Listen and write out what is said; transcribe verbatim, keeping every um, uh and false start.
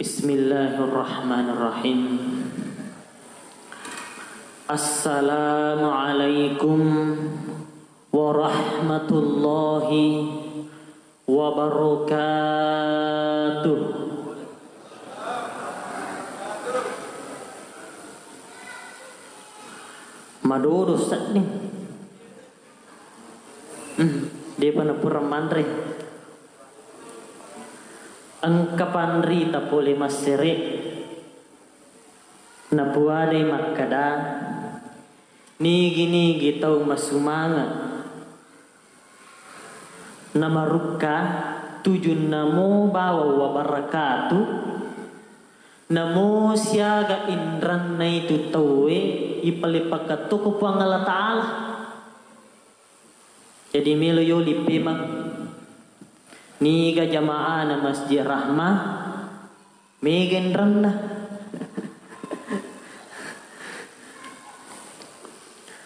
Bismillahirrahmanirrahim. Assalamualaikum warahmatullahi wabarakatuh. Madodo sedding. Hmm, depa napura manre. Engka panrita pole massere. Napuadai makkeda, nigi-nigi tau masumanga namarukka tujunna mo bawang wabarakatuh, namo siaga inranna itu tauwe ipaleppakatto ko Puang Allah Ta'ala. Jadi melo yoli pemang niga jamaahna Masjid Rahmah, mega inranna.